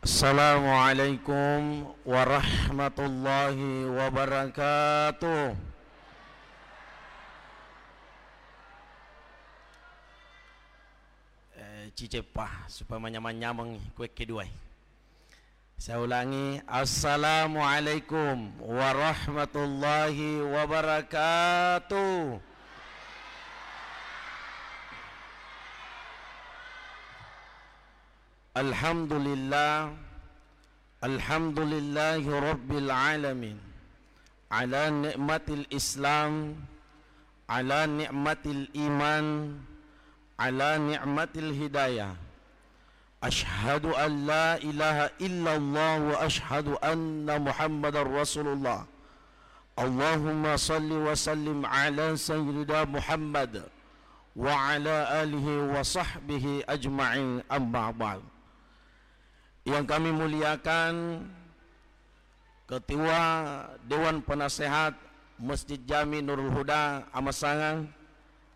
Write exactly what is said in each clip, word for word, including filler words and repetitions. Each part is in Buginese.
Assalamualaikum warahmatullahi wabarakatuh. Eh, ciceppa, supaya manyameng-nyameng kue keduai. Saya ulangi, Assalamualaikum warahmatullahi wabarakatuh. Alhamdulillah, alhamdulillahi rabbil alamin. Ala ni'matil Islam, ala ni'matil iman, ala ni'matil hidayah. Asyhadu an la ilaha illallah wa asyhadu anna Muhammadar Rasulullah. Allahumma salli wa sallim ala Sayyidina Muhammad wa ala alihi wa sahbihi ajma'in, amma ba'd. Yang kami muliakan, Ketua Dewan Penasehat Masjid Jami Nurul Huda Amasangang,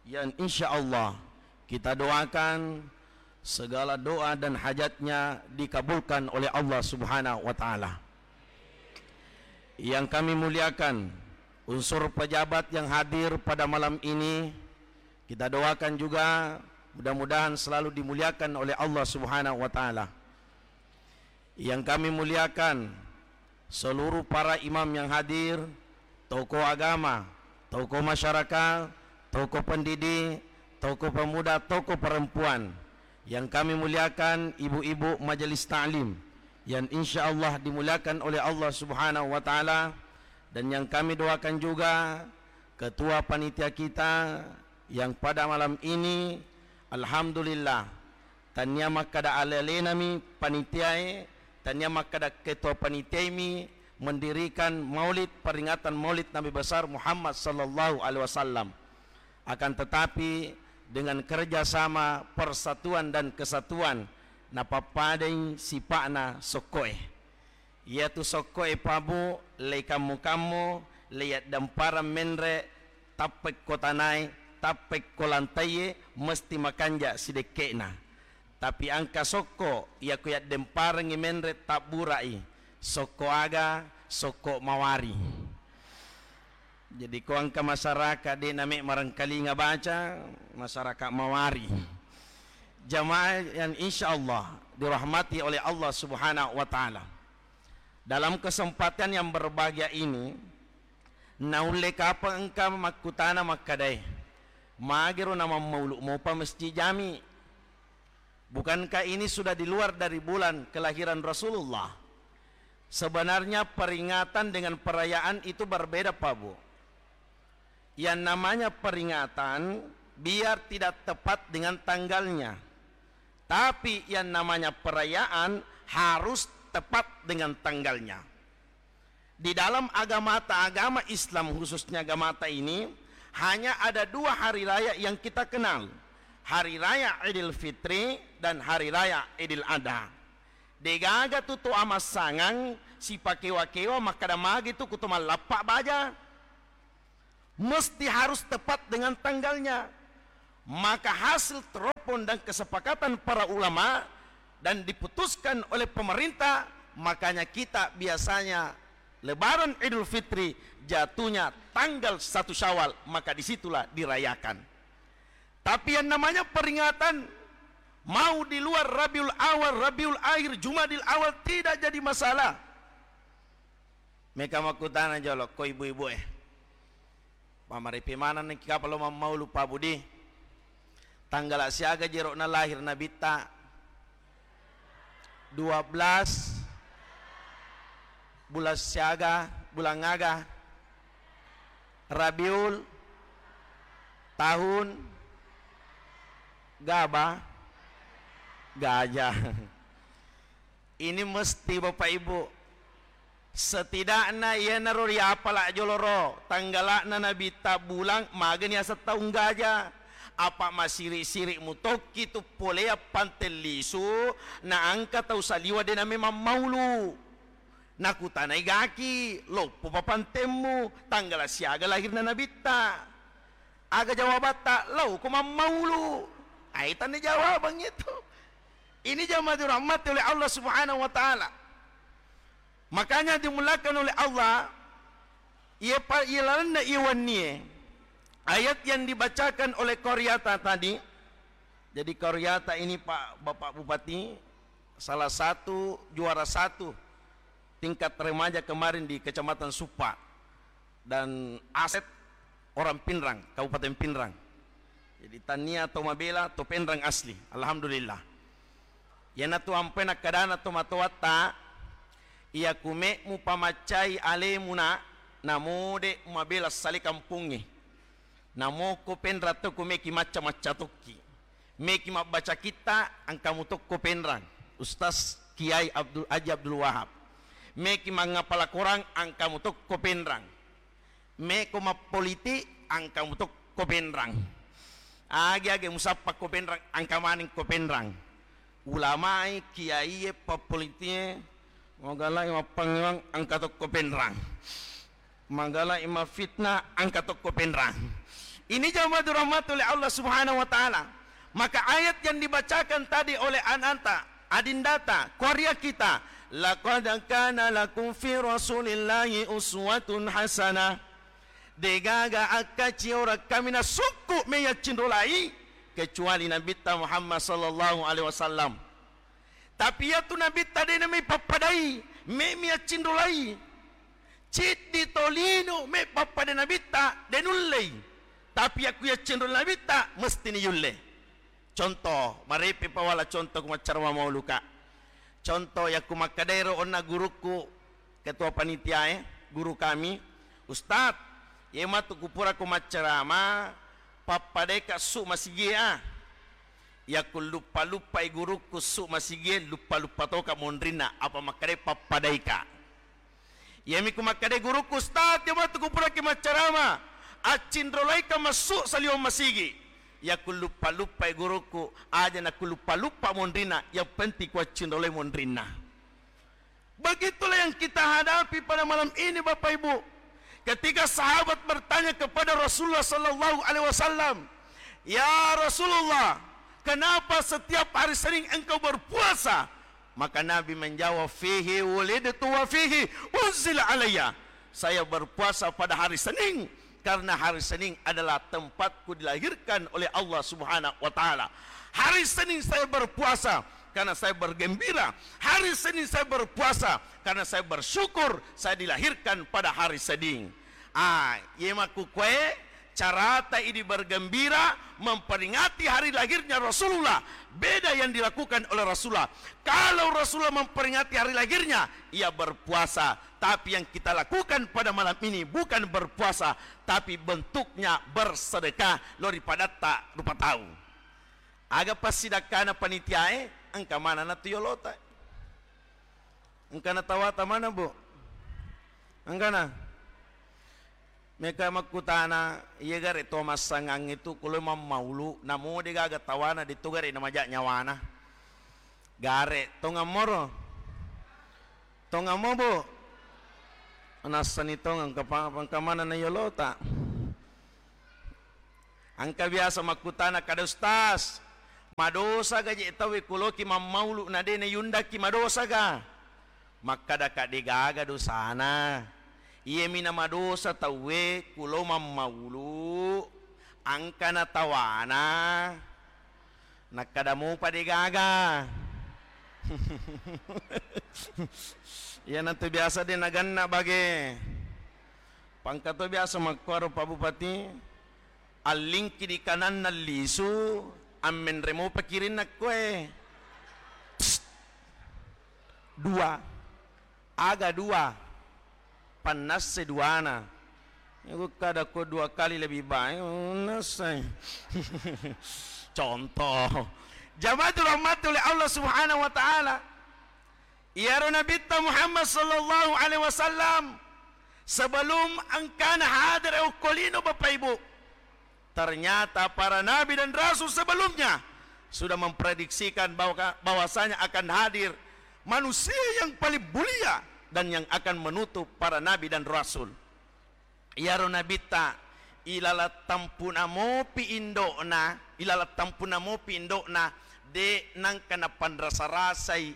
yang insya Allah kita doakan segala doa dan hajatnya dikabulkan oleh Allah Subhanahu wa Ta'ala. Yang kami muliakan, unsur pejabat yang hadir pada malam ini, kita doakan juga mudah-mudahan selalu dimuliakan oleh Allah Subhanahu wa Ta'ala. Yang kami muliakan, seluruh para imam yang hadir, tokoh agama, tokoh masyarakat, tokoh pendidik, tokoh pemuda, tokoh perempuan. Yang kami muliakan, ibu-ibu majelis taklim, yang insya Allah dimuliakan oleh Allah Subhanahu wa Ta'ala, dan yang kami doakan juga ketua panitia kita yang pada malam ini, alhamdulillah, Tania makkada ale-alenami panitiae, tania makkada ketua panitiaimi mendirikan maulid, peringatan maulid Nabi besar Muhammad sallallahu alaihi wasallam. Akan tetapi, dengan kerja sama, persatuan dan kesatuan, napappadai sipa'na sokkoe. Iyatu sokkoe, Pabu, leikammu-kammu, leiyaddamparang menre, tappekko tanae, tappekko lantaiye, mesti makanja sidekke'na. Tapi engka sokko, iyako yaddemparengngi menre, tabburai. Sokko aga? Sokko mawari. Jadi, ko engka masyarakat de' name' marengkalinga baca, masyarakat mawari. Jamaah yang insya Allah dirahmati oleh Allah Subhanahu wa Ta'ala. Dalam kesempatan yang berbahagia ini, naulle kapang engka makkutana makkadae, magero namammaulu mopa Masjid Jami? Bukankah ini sudah di luar dari bulan kelahiran Rasulullah? Sebenarnya peringatan dengan perayaan itu berbeda, Pak Bu. Yang namanya peringatan biar tidak tepat dengan tanggalnya, tapi yang namanya perayaan harus tepat dengan tanggalnya. Di dalam agamata, agama Islam khususnya agamata ini, hanya ada dua hari raya yang kita kenal. Hari Raya Idul Fitri dan Hari Raya Idul Adha. Degaga tu to amassangang sipakewa-kewa makkada magi tu kuto mallappa baja. Mesti harus tepat dengan tanggalnya. Maka hasil teropong dan kesepakatan para ulama dan diputuskan oleh pemerintah, makanya kita biasanya Lebaran Idul Fitri jatuhnya tanggal satu Syawal, maka disitulah dirayakan. Tapi yang namanya peringatan mau di luar Rabiul Awal, Rabiul Akhir, Jumadil Awal tidak jadi masalah. Meka makkutana jolo, ko ibu-ibu e. Pamaripi manenni kapang lo mammaulu, Pak Budi. Tanggala siaga jero'na lahir Nabitta? Dua belas. Bulan siaga, bulan aga? Rabiul tahun gaba? Gajah. Ini mesti, Bapak Ibu, setidakna iyanaro riapala jolo ro, tanggala'na Nabitta, bulang, magani aseng taung gaja. Apa masiri-siri mutokki tu polea pante lisu, na engka tau saliwa de name mammaulu. Nakutanai gaki, loppo pa pantemmu, tanggala siaga lahirna Nabitta? Aga jawabatta? Lauko mammaulu. Ai tanne jawabang itu. Ini jamaah dirahmati oleh Allah Subhanahu wa Ta'ala. Makanya dimuliakan oleh Allah, iya pa-, iya lalenna iya wennie, ayat yang dibacakan oleh Koryata tadi. Jadi Koryata ini, Pak, Bapak Bupati, salah satu juara satu tingkat remaja kemarin di Kecamatan Suppa. Dan Asep orang Pinrang, Kabupaten Pinrang. Jadi tania to mabela to Penrang asli. Alhamdulillah. Iyanatu ampai nakkadana to matoatta, iya kume'mu pamaccai alemu na, namode mabela sale kampongnge. Namoko Penrang to kumeki macca-macca tokki. Meki mabbaca kitta, engka mutokko Penrang, Ustaz Kiai Abdul, Haji Abdul Wahab. Meki mangapala Korang, engka mutokko Penrang. Meko mappolitik, engka mutokko Penrang. Age-age musappa ko Penrang, engka maneng ko Penrang. Ulamai, kiaiye, pappoliti'e, magalai mappangewang, engka tokko Penrang. Magalai maffitnah, engka tokko Penrang. Ini jamaah dirahmati oleh Allah Subhanahu wa Ta'ala. Maka ayat yang dibacakan tadi oleh ananta, adindata, korea kita, "Laqad kana lakum fi Rasulillahi uswatun hasanah." Degaga akkaciorang kaminang sukku meyaccinrolai kecuali Nabitta Muhammad sallallahu alaihi wasallam. Tapi iyatu Nabitta de' namai pappadai, me' mi accinrolai. Ciddi tolino me' pappada Nabitta de' nullei. Tapi yakku yaccinrolai Nabitta, mesti ni yulle. Contoh, marepe pawala contoh ku maccarama mauluka. Contoh, yakku makkadairo onna gurukku, ketua panitia, eh, guru kami, "Ustaz, ye matu kupura ku maccarama, pappadai ka su masigie a." Yakku luppa-luppai gurukku su masigie, luppa-luppa toka monrinna, apa makkadai pappadaika. Iyami ku makkadai gurukku, "Ustaz, iya matu kupuraki maccarama, accinrolaika massu saliweng masigi." Yakku luppa-luppai gurukku, aja nakku luppa-luppa monrinna, yang penting ku accinrolai monrinna. Begitulah yang kita hadapi pada malam ini, Bapak Ibu. Ketika sahabat bertanya kepada Rasulullah sallallahu alaihi wasallam, "Ya Rasulullah, kenapa setiap hari Senin engkau berpuasa?" Maka Nabi menjawab, "Fihi wulidtu wa fihi unzila alayya." Saya berpuasa pada hari Senin karena hari Senin adalah tempatku dilahirkan oleh Allah Subhanahu wa Ta'ala. Hari Senin saya berpuasa karena saya bergembira. Hari Senin saya berpuasa karena saya bersyukur saya dilahirkan pada hari Senin. Ah, ye makkukkue carata idi bergembira memperingati hari lahirnya Rasulullah. Beda yang dilakukan oleh Rasulullah. Kalau Rasulullah memperingati hari lahirnya, ia berpuasa. Tapi yang kita lakukan pada malam ini bukan berpuasa, tapi bentuknya bersedekah, lori padatta rupa tau. Aga passidakkana panitiae, engka manana tu yolota. Engka natawata mana, Bu? Engkana? Meka makkutana, iya gare to massangangnge tu kulo mammaulu, namo de gaga tawana, de to gare namaja nyawana. Gare, tongammoro? Tongammo, Bu? Nassani tongeng, engka pa-, engka manana yolota. Engka biasa makkutana kada, "Ustaz, madosa ga je tauwe kuloki mammaulu na de nayundaki, madosa ga?" Makkada ka, "De gaga dosana. Iyami na madosa tauwe kulo mammaulu, engka na tawana." Nakkada mupa de gaga. Iyanatu biasa de naganna bage. Pangka to biasa makkuaro Pak Bupati, allingki di kananna lisu, ammenre mopa kirinna koe. Psst. Dua. Aga dua? Pannasse duana. Iku kada ko dua kali lebih baik, nassai. Contoh. Jamaah dirahmati oleh Allah Subhanahu wa Ta'ala. Iyaro Nabitta Muhammad sallallahu alaihi wasallam sebelum engkana hadir okkolino, Bapak Ibu, ternyata para nabi dan rasul sebelumnya sudah memprediksikan bahwa, bahwasanya akan hadir manusia yang paling mulia dan yang akan menutup para nabi dan rasul. Iyaro Nabitta, ilala tampuna mopi indo'na, ilala tampuna mopi indo'na, De' nangka napanrasa-rasai,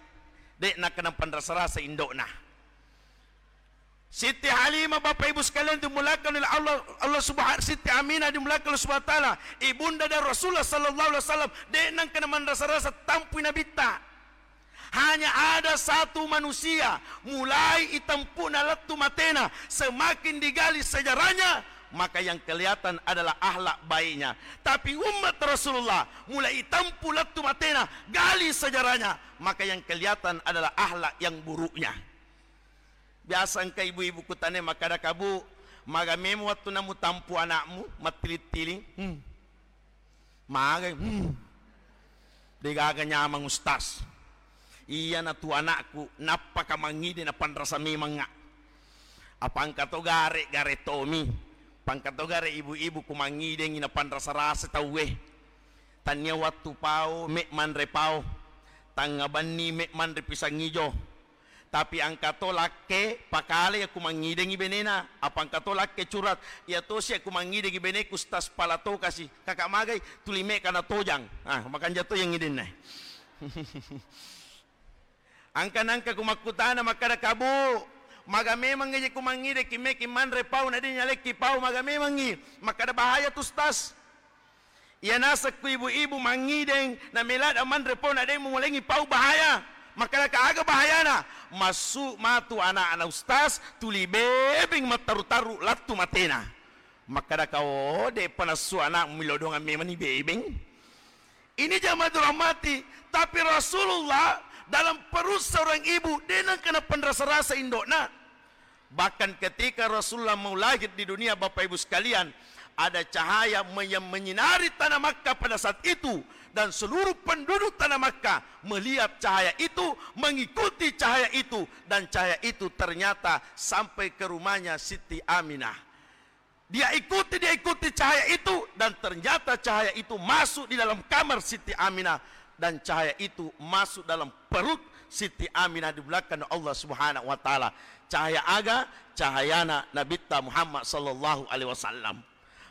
de' nangka napanrasa-rasai indo'na. Siti Halimah, Bapak Ibu sekalian dimulakan oleh Allah, Allah Subhanahu, Siti Aminah dimulakan Allah Subhanahu wa Ta'ala, ibunda dari Rasulullah sallallahu alaihi wasallam, de' nangka namanrasa-rasa tampui Nabitta. Hanya ada satu manusia, mulai itempu'na lettu matena, semakin digali sejarahnya, maka yang kelihatan adalah akhlak baiknya. Tapi umat Rasulullah, mulai itempu lettu matena, gali sejarahnya, maka yang kelihatan adalah akhlak yang buruknya. Biasa engka ibu-ibu kutane makkada, "Kabu, maga memang wattunna mutampu anakmu mattiling-tiling?" Hmm. Magai, hmm. Degaga nyamang, Ustaz. Iyana tu anakku, nappaka mangngide napanrasa memangnga. Apa engka to gare, gare tomi. Apa engka to gare ibu-ibu ku mangngide napanrasa-rasa tauwe. Tania wattu pao, me manre pao. Tangnga benni me manre pisang ijo. Tapi engka to lakke pakale yakku mangngidengngi benena, apa engka to lakke curhat, iya tosi yakku mangngidengngi beneku, Ustaz, pala tokasi. Kaka magai, tuli mekka na tojang. Ah, makanja to yang ngidenna. Engka nangka ku makkutana makkada, "Kabu, maga memang je ku mangngideki meki manre pau na de nyalekki pau, maga memangngi?" Makkada, "Bahaya tu, Ustaz." Iya naseng ku ibu-ibu mangngideng, na melada manre pau na de mumolengi pau, bahaya. Makkadaka, "Aga bahayana?" "Massu matu anak-anak ustaz, tuli bebeng mattaru-taru lattu matena." Makkadaka, "Oh, de'pa nassu anakmu, milodongang memani bebeng." Ini jamaah dirahmati, tapi Rasulullah dalam perut seorang ibu, de nengka napanrasa-rasa indo'na. Bahkan ketika Rasulullah mau lahir di dunia, Bapak Ibu sekalian, ada cahaya me-, yang menyinari tanah Makkah pada saat itu, dan seluruh penduduk tanah Makkah melihat cahaya itu, mengikuti cahaya itu, dan cahaya itu ternyata sampai ke rumahnya Siti Aminah. Dia ikuti, dia ikuti cahaya itu, dan ternyata cahaya itu masuk di dalam kamar Siti Aminah, dan cahaya itu masuk dalam perut Siti Aminah di belakang Allah Subhanahu wa Ta'ala. Cahaya aga? Cahayana Nabitta Muhammad sallallahu alaihi wasallam.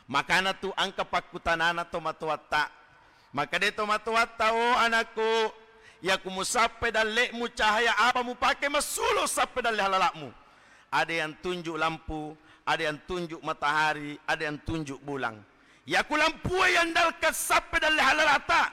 Makana tu engka pakkutanana tomatoatta. Makkeda tomatoatta, "Oh anakku, yaku musappe dalle'mu, cahaya apa mupake massulo sappe dalle halala'mu?" Ada yang tunjuk lampu, ada yang tunjuk matahari, ada yang tunjuk bulang. Yaku lampue yandalkan sappe dalle halalata,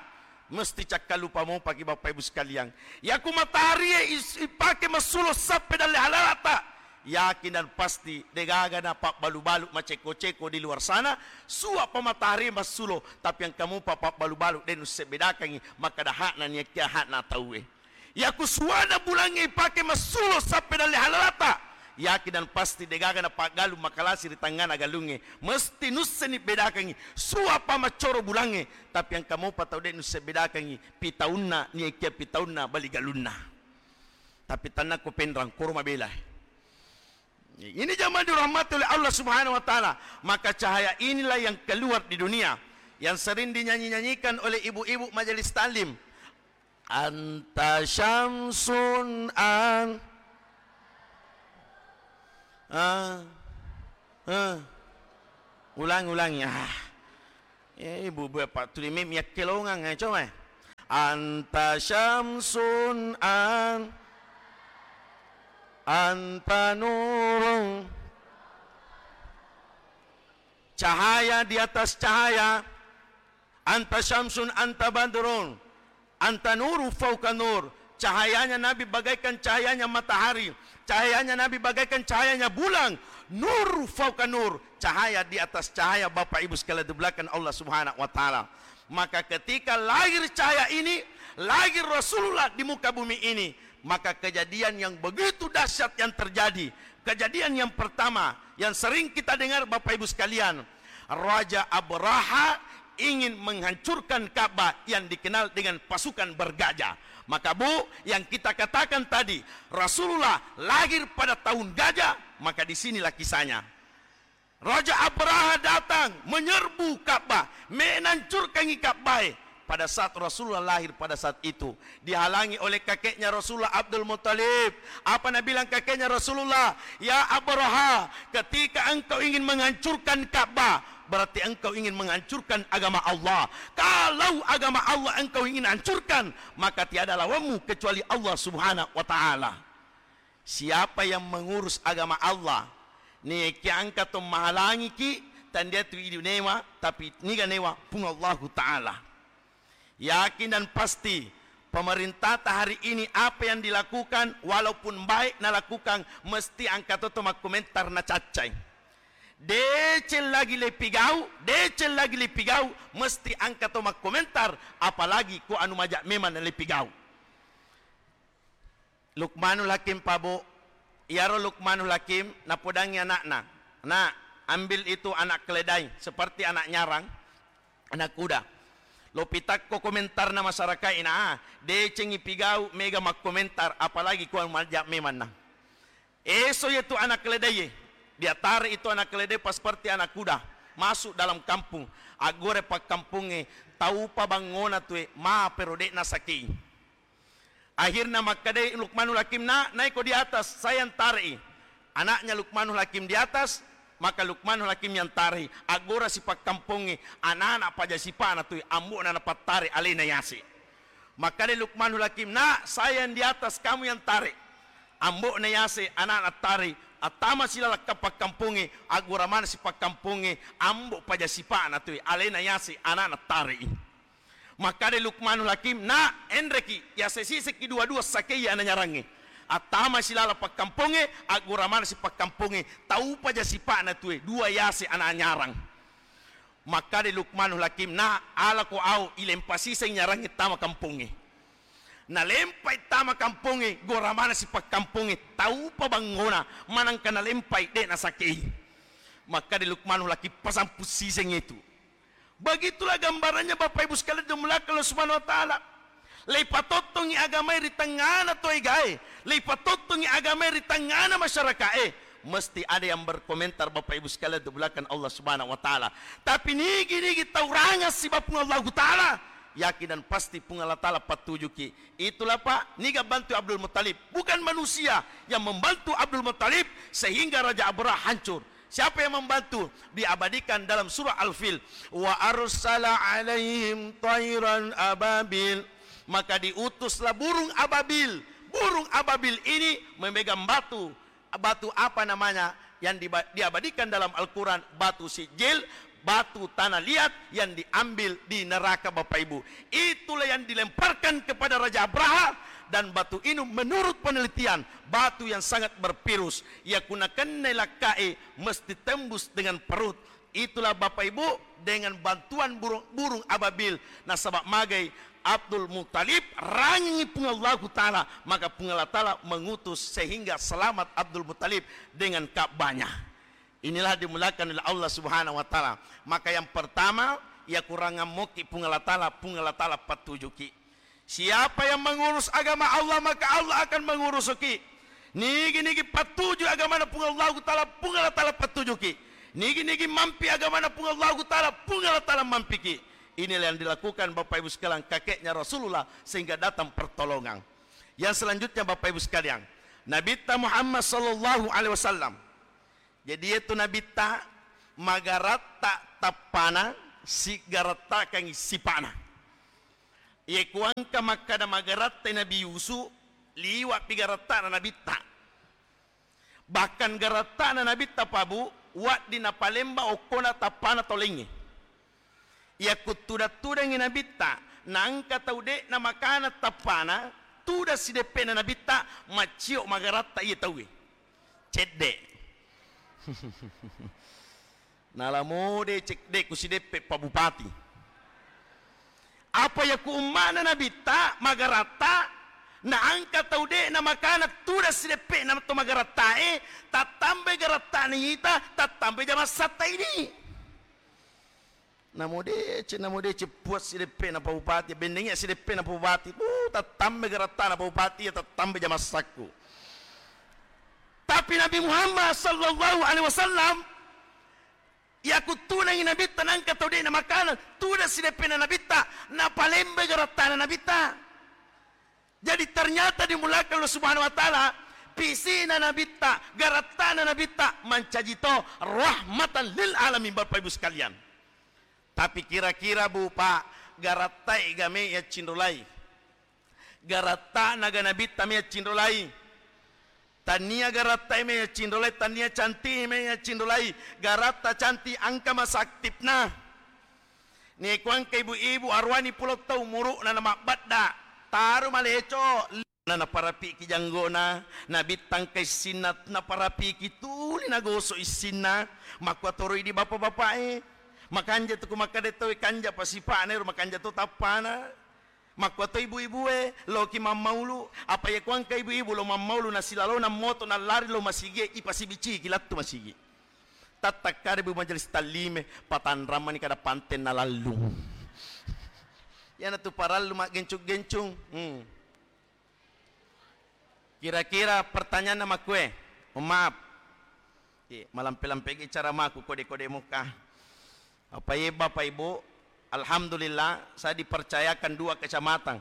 mesti cakkalupa mopaki, Bapak Ibu sekalian. Yaku mataharie is-, ipake massulo sappe dalle halalata, yakin dan pasti degaga na pabbalu-balu maceko-ceko di luar sana, suapa matahari massulo, tapi engka mupa pabbalu-balu de nusse bedakangi, makkada hakna niakkia hakna tauwe. Yaku suana bulangnge ipake massulo sappe dalle halalata, yakin dan pasti degaga na paggalung makalasi ri tangngana galungnge, mesti nusseni bedakangi suapa maccoro bulangnge, tapi engka mopa tau de nusse bedakangi pitaunna niakkia pitaunna bali galunna. Tapi tannakko penrang, koro mabela. Ini jamaah dirahmati oleh Allah Subhanahu wa Ta'ala. Maka cahaya inilah yang keluar di dunia, yang sering dinyanyi-nyanyikan oleh ibu-ibu majelis taklim. Anta syamsun an-, ah, ah. Ulangi, ulangi. Ah. Eh, ibu-ibu, apa tuli mim yakkelongang, eh, coba, eh. Anta syamsun an-, anta nurun. Cahaya di atas cahaya. Anta syamsun, anta badrun, anta nuru fauka nur. Cahayanya Nabi bagaikan cahayanya matahari. Cahayanya Nabi bagaikan cahayanya bulan. Nur fauka nur. Cahaya di atas cahaya, Bapak Ibu sekalian di belakang Allah Subhanahu wa Ta'ala. Maka ketika lahir cahaya ini, lahir Rasulullah di muka bumi ini, maka kejadian yang begitu dahsyat yang terjadi. Kejadian yang pertama yang sering kita dengar, Bapak Ibu sekalian, Raja Abraha ingin menghancurkan Ka'bah yang dikenal dengan pasukan bergajah. Maka, Bu, yang kita katakan tadi, Rasulullah lahir pada tahun gajah, maka di sinilah kisahnya. Raja Abraha datang menyerbu Ka'bah, menancurkangi Ka'bah. Pada saat Rasulullah lahir pada saat itu, dihalangi oleh kakeknya Rasulullah, Abdul Muttalib. Apa nabilang kakeknya Rasulullah? "Ya Abraha, ketika engkau ingin menghancurkan Ka'bah, Berarti engkau ingin menghancurkan agama Allah. Kalau agama Allah engkau ingin hancurkan, maka tiada lawanmu kecuali Allah Subhanahu wa Ta'ala. Siapa yang mengurus agama Allah, niga engka to mahalangiki, tennia tu idi newa, tapi niga newa, Puang Allahu Ta'ala. Yakin dan pasti, pemerintahta hari ini apa yang dilakukan, walaupun baik nalakukan, mesti engka to to makkomentar nacaccai. Deceng lagi lepigau, deceng lagi lepigau, mesti engka to makkomentar, apalagi ko anu maja memang nalepigau. Lukmanul Hakim, Pak Bu, iyaro Lukmanul Hakim napodangi anakna, "Nak, ambil itu anak keledai, seperti anak nyarang, anak kuda." Lo pitakko komentarna masyarakat ina, ah, decengi pigau mega makkomentar, apalagi ko maja memanna. Eso yetu anak keledai, diatare itu anak keledai pas seperti anak kuda, masuk dalam kampung, aggore pakkampungnge, taupa bangngona tue, ma pero de nasakei. Akhirna makkedai Lukmanul Hakim, "Nak, naiko di atas, saya yang tare'i." Anaknya Lukmanul Hakim di atas, maka Lukmanul Hakim yang tare'i. Aggora si pakkampongnge, anak-anak paja sipa'na tui, ambo'na napattare alena yase. Makkeda Lukmanul Hakim, "Nak, saya yang di atas, kamu yang tarik." Ambo'na yase, anak-anak tare'i. Attama si lalakka pakkampongnge, aggora mana si pakkampongnge, ambo paja sipa'na tui, alena yase, anak-anak tare'i. Makkeda Lukmanul Hakim, "Nak, enreki, yase siseki dua-dua sakei ana nyarangnge." Attama silala pakkampongnge, aggora mana si pakkampongnge, taupa ja sipa'na tue, dua yase ana nyarang. Makkeda Lukmanul Hakim, "Nak, alako au, ilempa siseng nyarangnge tama kampongnge." Nalempai tama kampongnge, gora mana si pakkampongnge, taupa bangngona, manangka nalempai, de nasakei. Makkeda Lukmanul Hakim, "Pasampu siseng itu." Begitulah gambarannya, Bapak Ibu sekalian dimuliakan Allah Subhanahu wa Ta'ala. Leipatottongi agamae ri tengngana toegae, leipatottongi agamae ri tengngana masyarakae, mesti ada yang berkomentar, Bapak Ibu sekalian dimuliakan Allah Subhanahu wa Ta'ala. Tapi nigi-nigi tau rangeng siba Puang Allahu Ta'ala, yakin dan pasti Puang Allah Ta'ala pattujuki. Itulah, Pak, niga bantu Abdul Muttalib. Bukan manusia yang membantu Abdul Muttalib sehingga Raja Abraha hancur. Siapa yang membantu? Diabadikan dalam surah Al-Fil, "Wa arsala alaihim tairan ababil." Maka diutuslah burung ababil. Burung ababil ini memegang batu. Batu apa namanya yang diba-, diabadikan dalam Al-Quran? Batu sijil, batu tanah liat yang diambil di neraka, Bapak Ibu. Itulah yang dilemparkan kepada Raja Abraha, dan batu ini menurut penelitian, batu yang sangat bervirus. Iya ku nakennai lakkae mesti tembus dengan perut. Itulah, Bapak Ibu, dengan bantuan burung, burung ababil, nasaba magai Abdul Muttalib rangengi Puang Allahu Ta'ala, maka Puang Allah Ta'ala mengutus sehingga selamat Abdul Muttalib dengan Ka'bahnya. Inilah dimuliakan oleh Allah Subhanahu wa Ta'ala. Maka yang pertama, iya ku rangeng moki Puang Allah Ta'ala, Puang Allah Ta'ala pattujuki. Siapa yang mengurus agama Allah, maka Allah akan mengurusuki. Nigi-nigi pattuju agamana Puang Allahu Ta'ala, Puang Allah Ta'ala pattujuki. Nigi-nigi mampi agamana Puang Allahu Ta'ala, Puang Allah Ta'ala mampiki. Inilah yang dilakukan, Bapak Ibu sekalian, kakeknya Rasulullah sehingga datang pertolongan. Yang selanjutnya, Bapak Ibu sekalian, Nabitta Muhammad sallallahu alaihi wasallam. Jadi, iyatu Nabitta magaratta tappana, sigarattakangi sipa'na. Iye ku engka makkada magarattai Nabi Yusuf, liwa'pi garattana Nabitta. Bahkan garattana Nabitta, Pak Bu, wedding napalemba okkona tappana tau laingnge. Iya ku tudang-tudangngi Nabitta, naengka tau de'na makanang tappana, tudang sideppe'na Nabitta, maccio magaratta iye tauwe. Cedde. Nala mode cedde ku sideppe Pak Bupati. Apa iya ku umma'na Nabitta magaratta, naengka tau de'na makanang tudang sideppe'na to magarattae, tattambai garattana ita, tattambai jamassatta idi. Namo deceng, namo deceng puas sideppe'na Pak Bupati, bennengngi sideppe'na Pak Bupati, uh, tattambai garattana Pak Bupati, iya tattambai jamassakku. Tapi Nabi Muhammad sallallahu alaihi wasallam, iya ku tudangngé Nabitta naengka tau dé'na makanang, tudang sideppe'na Nabitta, napalémbé garattana Nabitta. Jadi ternyata dimuliakan Allah Subhanahu wa Ta'ala, pisina Nabitta, garattana Nabitta mancaji to rahmatan lil alamin, Bapak Ibu sekalian. Tapi kira-kira, Bu, Pak, garattae ga me yaccinrolai? Garattana ga Nabitta me yaccinrolai? Tania garattae me yaccinrolai, tania canti'i me yaccinrolai. Garatta canti' engka masa aktifna. Neku engka ibu-ibu aruwani pulo tau umuru'na namabbadda, taru maleco. Na, naparapiki janggona, Nabitta engka issinna, naparapiki tuli nagoso issinna. Makkuatoro idi bapa-bapa'e. Makanja tu ku makkeda tauwe kanja pa sipa'na ero, makanja to tappana. Makkuato ibu-ibue, loki mammaulu, apa iya kuangka ibu-ibu lo mammaulu, nasilalona moto nallari lo masigie, ipasibiciki lattu masigi. Tattakkada ibu majelis tallime, patanrang mani kada panten nalallung. Iyanatu parallu maggencung-gencung. Hmm. Kira-kira pertanyaanna makkue? Mohon maaf. Iya, malampe-lampegi caramaku kode-kode muka. Apa iye, Bapak Ibu, alhamdulillah, saya dipercayakan dua kecamatan.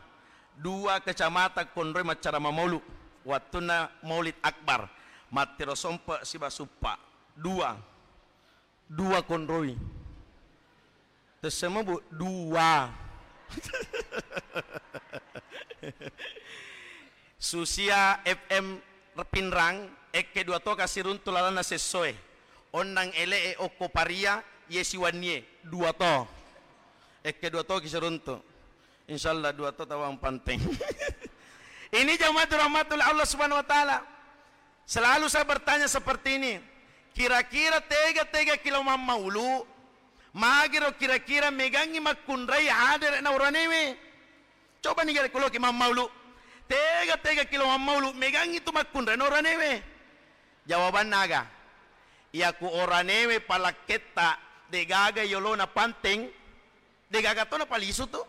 Dua kecamatan konroi maccarama maulu. Wattunna Maulid Akbar, mattiro Sompe siba Suppa. Dua. Dua konroi. Tessemo, Bu, dua. Susia F M Pinrang, ekke dua to kasiruntu lalanna sessoe. Onnang ele'e okko paria, ye siwannie, dua to. Ekke dua to kisiruntu. Insyaallah dua to tawang panteng. Ini jamaah rahmatullah Allah Subhanahu wa Ta'ala. Selalu saya bertanya seperti ini, kira-kira tega-tega kilo mammaulu, magiro kira-kira megangi makkunrai hadere na uranewe? Coba ni gare kuloki mammaulu, tega-tega kilo mammaulu, megangi tu makkunrai na uranewe? Jawabanna aga? Iyaku oranewe palakketta degaga yolona panteng, degaga tona palisu tu.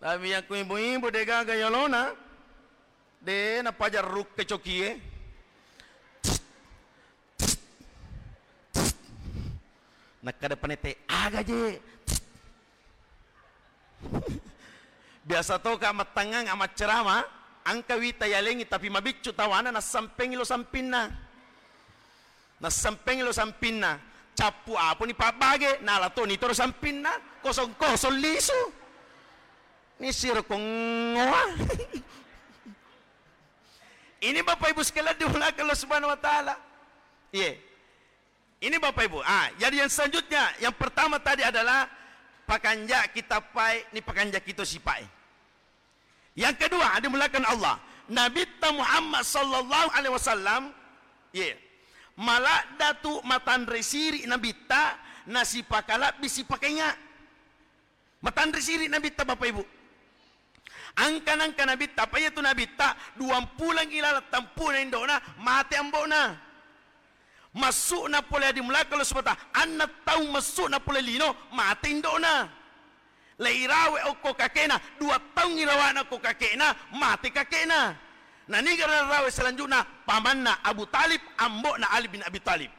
Tapi yakku ibu-ibu degaga yolona, de napajarrukke cokie. Nakkada panete, aga je? Biasa toka mattangngang amaccerama, engka wita yalengi tapi mabiccu tawana nassampengi lo sampinna. Nassampengi lo sampinna, cappu aponi pabbage, nala toni toro sampinna, kosong-kosong lisu. Nisiro kongoa. Ini Bapak Ibu sekalian dimuliakan Allah Subhanahu wa Ta'ala. Iya. Ini Bapak Ibu. Ah, jadi yang selanjutnya, yang pertama tadi adalah pakanja kita pai, ni pakanja kita sipai. Yang kedua, dimuliakan Allah, Nabitta Muhammad sallallahu alaihi wasallam, ye, maladda tu matanre siri Nabitta, nasipakalabbi sipakainga. Matanre siri Nabitta, Bapak Ibu. Angka-angka Nabitta, apa iya tu Nabitta, duang pulang ilalang tampuna indona, mate ambona. Massu'na pole, adi mulaka lo sebata, anna taung massu'na pole lino, mate indona. Leirawe okko kakena, dua taung irawana okko kakena, mate kakena. Naniga narawe selanjutna, pamanna Abu Talib, ambona Ali bin Abi Talib.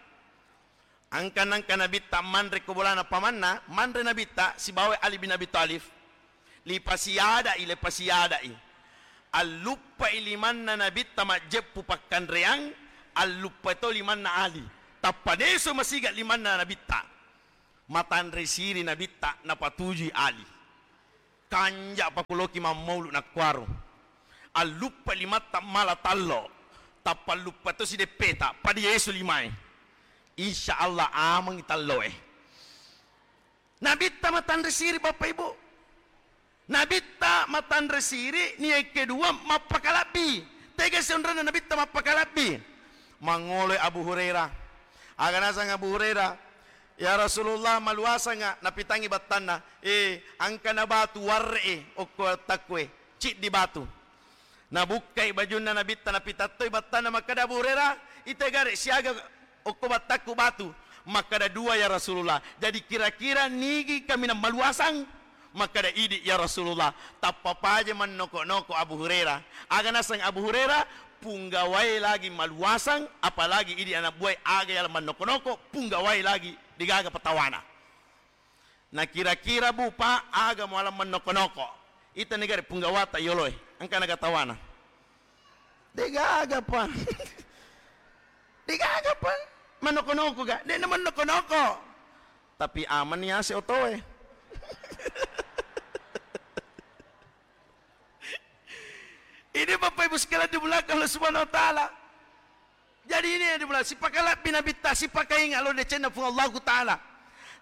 Angka-angka Nabitta manre ko bolana pamanna, manre Nabitta sibawa Ali bin Abi Talib. Lipasiadai, lipasiadai. Alluppai limanna Nabitta majjeppu pakkanreang, alluppai to limanna Ali. Tappa deso masiga limanna Nabitta. Matanre siri Nabitta, napatujui Ali. Kanja pakuloki mammaulu nakkuaro. Alluppai limatta mala tallo. Tappa alluppai to sideppeta, pada yesu limae. Insya Allah amangi talloe. Nabitta matanre siri, Bapak Ibu. Nabitta matanre siri, ni yang kedua mappakalabbi. Tega sionrena Nabitta mappakalabbi. Mangoloi Abu Hurairah. Aga nasang Abu Hurairah, "Ya Rasulullah, maluasanga?" Napitangi battanna. "Eh, angkana batu warre e, okko takkue. Ciddi batu." Nabukkai bajunna Nabitta, napitattoi battanna, makkeda Abu Hurairah, "Ite gare siaga okko battakku batu?" Makkeda, "Dua, ya Rasulullah." "Jadi kira-kira nigi kaminang maluasang?" Makkeda, "Idi, ya Rasulullah." Tappa paja mannoko-noko Abu Hurairah. Aga naseng Abu Hurairah? Punggawae lagi maluasang, apalagi idi anak buae aga yala mannoko-noko, punggawae lagi degaga patawana. Na kira-kira, Bu, Pak, aga muala mannoko-noko? Ita negara punggawata yoloe, engka naga tawana. Degaga, Pak. Degaga, Pak. Mannoko-noko ga? Dena mannoko-noko. Tapi aman ya si otoe. Ini Bapak Ibu sekalian dimuliakan Allah Subhanahu wa Ta'ala. Jadi ini yang dimuliakan, sipakalabbi Nabitta, sipakainga lo decenna Puang Allahu Ta'ala.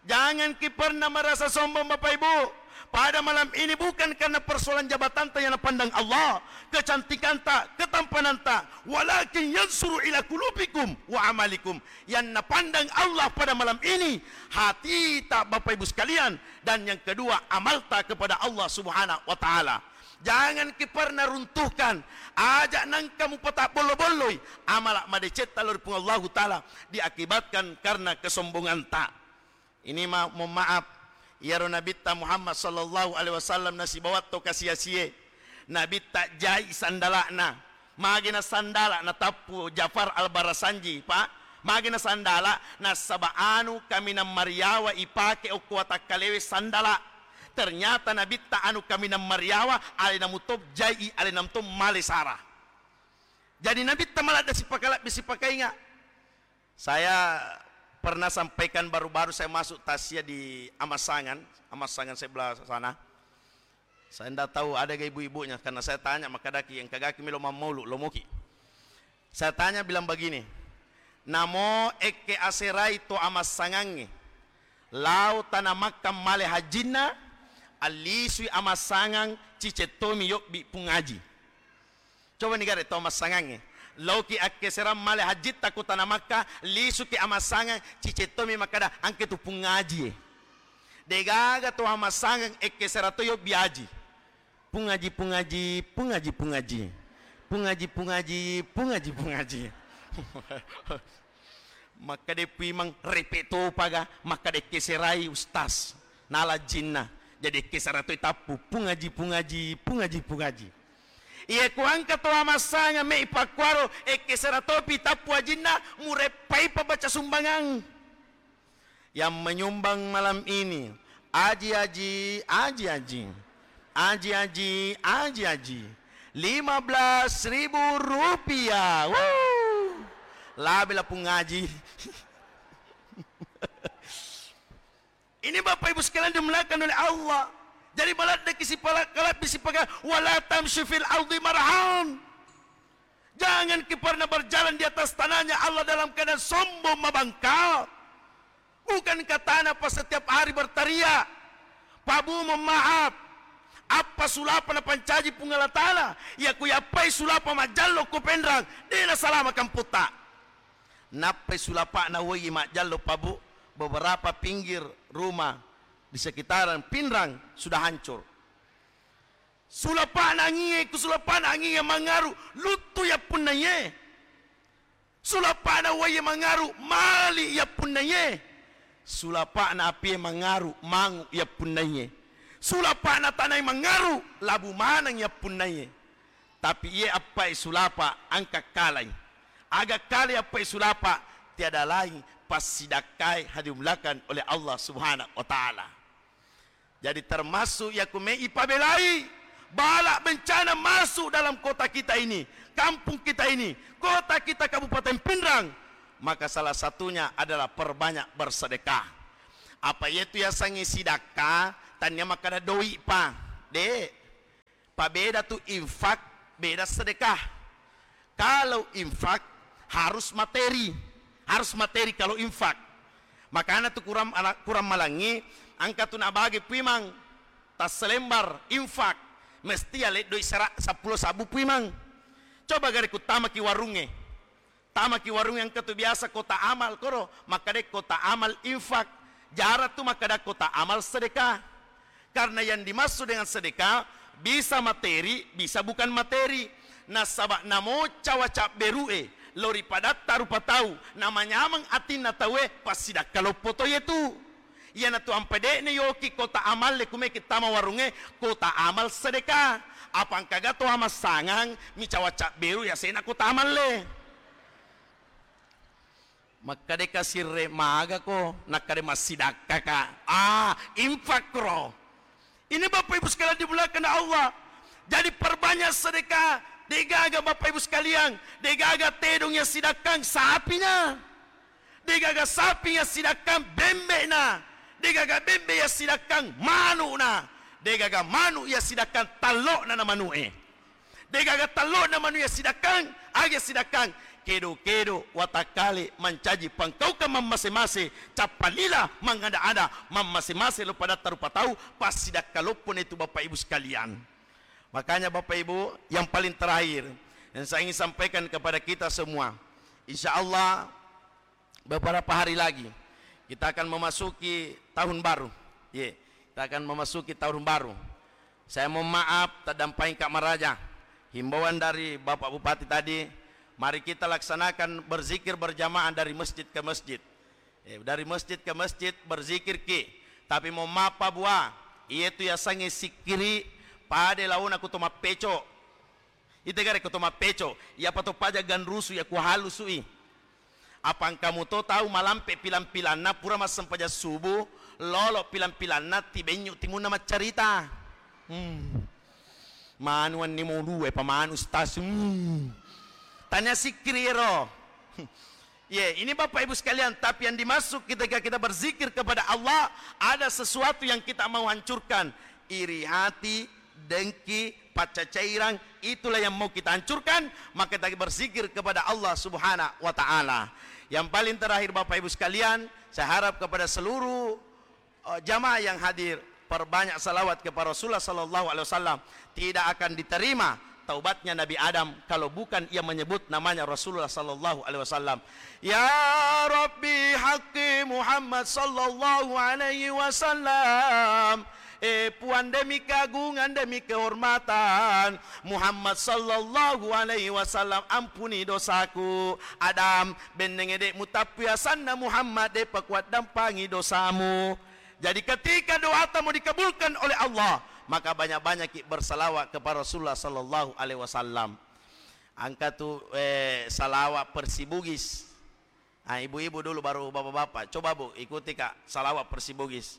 Jangan ki pernah merasa sombong Bapak Ibu. Pada malam ini bukan karena persoalan jabatanta yang napandang Allah, kecantikanta, ketampananta, walakin yansuru ila qulubikum wa amalikum. Yang napandang Allah pada malam ini, hatita Bapak Ibu sekalian, dan yang kedua amalta kepada Allah Subhanahu wa Ta'ala. Jangan ki pernah runtuhkan, aja nangka mupatabbollo-bolloi amala madecetta lao ri Puang Allahu Ta'ala diakibatkan karena kesombonganta. Ini ma-, mohon maaf, iyaro Nabitta Muhammad sallallahu alaihi wasallam nasibawa to kasiasie. Nabitta jai sandala'na. Magi na sandala natappu Jafar Al-Barasanji, Pak? Magi na sandala, nasaba anu kaminang mariawa ipake okko watakkalewe sandala. Ternyata Nabitta anu kaminang mariawa, alena muto jai, alena muto male sara. Jadi Nabitta maladde sipakalabbi sipakainga. Saya pernah sampaikan baru-baru saya masuk takziah di Amassangan, Amassangan sebelah sana. Saya ndak tahu ada ga ibu-ibunya, karena saya tanya, makkedaki, "Engkagaki melo mammaulu, lomoki." Saya tanya bilang begini, "Namo ekke aserai to Amassangangnge, lao tana Makkah male hajjinna, allisui Amassangang cicettomi yobbi Pung Aji." Coba ni gare to Amassangangnge. Laoki akkeserang male hajjitta ko tana Makkah, lisuki Amassangang, cicettomi makkeda, "Engke tu Pung Aji e." Degaga to Amassangang ekkesera to yobbi aji. "Pung Aji, Pung Aji, Pung Aji, Pung Aji. Pung Aji, Pung Aji, Pung Aji, Pung Aji." Makkeda Puimang, "Repe topaga?" Makkeda, "Ekkeserai Ustaz, nala jinna." Jadi ekkesera toi tappu, "Pung Aji, Pung Aji, Pung Aji, Pung Aji." Iya ku engka to Amassangang me ipakkuaro, ekkesera topi tappu ajinna, mureppai pa baca sumbangang. Yang menyumbang malam ini, aji-aji, aji-aji. Aji-aji, aji-aji. Lima belas ribu rupiah. Wuh. Labe la Pung Aji. Ini Bapak Ibu sekalian dimuliakan oleh Allah. Jadi maladdeki sipala-, kalabbi sipaka, "Wala tamshi fil ardi marahan." Jangan ki pernah berjalan di atas tanahnya Allah dalam keadaan sombong mabangkang. Bukankah tanah pas setiap hari berteriak, "Pak Bu, mohon maaf, appa sulapa napancaji Puang Allah Ta'ala, iya ku yappai sulapa majjallo ko Penrang, de nasalama kampotta." Nappai sulapa'na woi majjallo, Pak Bu, beberapa pinggir rumah di sekitaran Pinrang sudah hancur. Sulapa'na angie, ku sulapa'na angie mangaru, luttu yappunnaiye. Sulapa'na waie mangaru, mali yappunnaiye. Sulapa'na apie mangaru, mangu yappunnaiye. Sulapa'na tanae mangaru, labu maneng yappunnaiye. Tapi iye appai sulapa engka kalai. Aga kalai appai sulapa, tiada lain passidakkae hadimuliakan oleh Allah Subhanahu wa Ta'ala. Jadi termasuk iya ku me ipabelai bala bencana masuk dalam kota kita ini, kampung kita ini, kota kita Kabupaten Pinrang, maka salah satunya adalah perbanyak bersedekah. Apa iyatu yasengnge sidakka, tania makkada doi pa, de. Pabeda tu infak, beda sedekah. Kalau infak harus materi, harus materi kalau infak. Makana tu kurang ala-, kurang malangi, engka tu nabage puimang tasselembar infak, mesti ale doi sera-, seppulo sabbu puimang. Coba gare ku tamaki warungnge. Tamaki warung engka tu biasa kota amal koro, makkada kota amal infak. Jarang tu makkada kota amal sedekah. Karena yang dimaksud dengan sedekah bisa materi, bisa bukan materi. Nasaba namo cawa cabberu'e lao ri padatta rupa tau, namanyameng atinna tauwe, passidakka loppo to yetu. Iyanatu ampai de'na yoki kota amalle kumeki tama warungnge, kota amal sedekah. Apa engkaga to amassangang micawa cabberu yasena kota amalle. Makkade kasirre magako, nakkade massidakkaka. Ah, infak ro. Ini Bapak Ibu sekalian dimuliakan Allah. Jadi perbanyak sedekah. Degaga Bapak Ibu sekalian, degaga tedong yang sidakkang sapinya. Degaga sapi yang sidakkang bembe'na. Degaga bembe yassidakkang manu'na, degaga manu' yassidakkang tallo'na na manu'e. Degaga tallo'na manu' yassidakkang, aga yassidakkang? Kedo-kedo, watakkale, mancaji pangkaukang mammase-mase, cappa lila, mangada-ada, mammase-mase lo padatta rupa tau, passidakka loppo na itu Bapak Ibu sekalian. Makanya Bapak Ibu, yang paling terakhir yang saya ingin sampaikan kepada kita semua, insya Allah beberapa hari lagi kita akan memasuki tahun baru. Ye, kita akan memasuki tahun baru. Saya mohon maaf, taddampeng Kak Maraja. Himbauan dari Bapak Bupati tadi, mari kita laksanakan berzikir berjamaah dari masjid ke masjid. Eh, dari masjid ke masjid berzikir ki. Tapi mohon maaf Pak Bua, iye tu yasengnge sikkiri pada laona ku to mappeco. Ite gare ko to mappeco, iyapa to paja ganrusu iya ku halusui. Apa engka muto tau malampe pilang-pilanna pura massempajang subuh, lolo pilang-pilanna tibenyu timunna maccarita. Hmm. Manu anni mau dua, pa manu stasiun. Hmm. Tanya sikkiri ero. Ye, ini Bapak Ibu sekalian, tapi yang dimaksud ketika kita berzikir kepada Allah, ada sesuatu yang kita mau hancurkan. Iri hati, dengki, paccacairang, itulah yang mau kita hancurkan, maka kita berzikir kepada Allah Subhanahu wa Ta'ala. Yang paling terakhir, Bapak Ibu sekalian, saya harap kepada seluruh, eh, jamaah yang hadir, perbanyak salawat kepada Rasulullah sallallahu alaihi wasallam. Tidak akan diterima taubatnya Nabi Adam kalau bukan ia menyebut namanya Rasulullah sallallahu alaihi wasallam. Ya Rabbi, haqqi Muhammad sallallahu alaihi wasallam. Eh, Puang, demi keagungan, demi kehormatan Muhammad sallallahu alaihi wasallam, ampuni dosaku. Adam, bennenge de' mutappu asanna Muhammad, de' pakuaddampangi dosamu. Jadi ketika doata mau dikabulkan oleh Allah, maka banyak-banyakki bersalawat kepada Rasulullah sallallahu alaihi wasallam. Engka tu, eh, salawat Persi Bugis. Ah, ibu-ibu dulu, baru bapak-bapak. Coba, Bu, ikuti, Kak, salawat Persi Bugis.